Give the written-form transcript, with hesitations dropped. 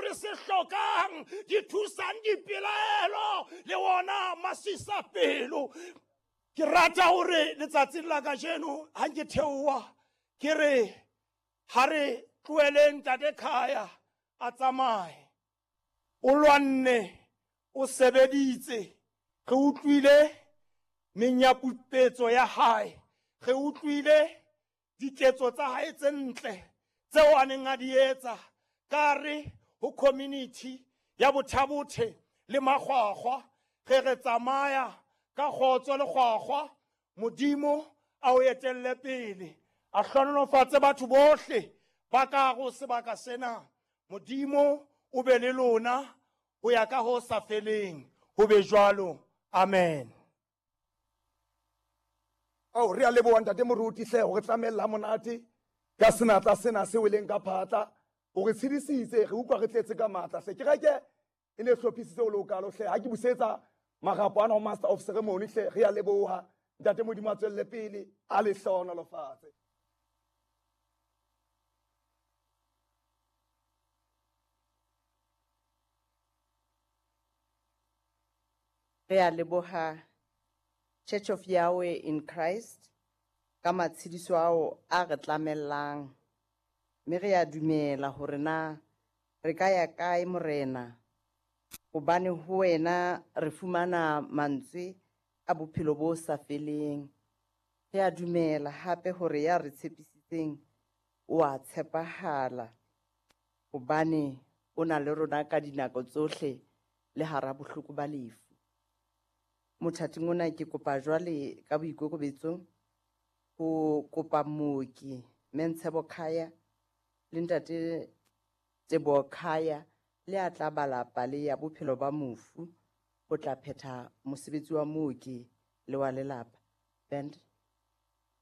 re se hlokang, di thusang dipelaelo le ona masisapelo. Ke rata hore letsatsing la kajeno ha nke theoha ke re ha re tloheleng Ntate Khaya a tsamaye. O lwanne, o sebeditse, re utlwile menyapupetso ya hae, re utlwile diketso tsa hae tse ntle tseo a neng a di etsa ka re ho community ya Bothabothe le Makgwakgwa. Re re tsamaya ka kgotso le kgwakgwa, Modimo a o etelle pele, a hlohonolofatse batho bohle ba ka go sebaka sena. Modimo o be le lona ho ya ka ho sa feleng, ho be jwalo. Amen. Ao, re a leboha Ntate Moruti hle hore tlamella monate ka senatla sena se weleng ka phatla. O re tshedisitse, re utlwa re tletse ka matla hle. Kereke e ne hlophisitse o le o kalo hle. Ha ke busetsa marapo ana ho Master of Ceremony hle, re a leboha. Ntate Modimo a tswelle pele, a le hlohonolofatse. Re a leboha Church of Yahweh in Christ ka matshediso ao a re tlamellang. Mme re a dumela hore na re ka ya kae Morena, hobane ho wena re fumana mantswe a bophelo bo sa feleng. Re a dumela hape hore ya re tshepisitseng o a tshepahala, hobane o na le rona ka dinako tsohle le hara bohloko ba lefu. Mothating ona ke kopa jwale ka boikokobetso ho kopa mooki Mentshebo Khaya le Ntate Teboho Khaya le a tla bala pale ya bophelo ba mofu ho tla phetha mosebetsi wa mooki le wa lelapa. Band.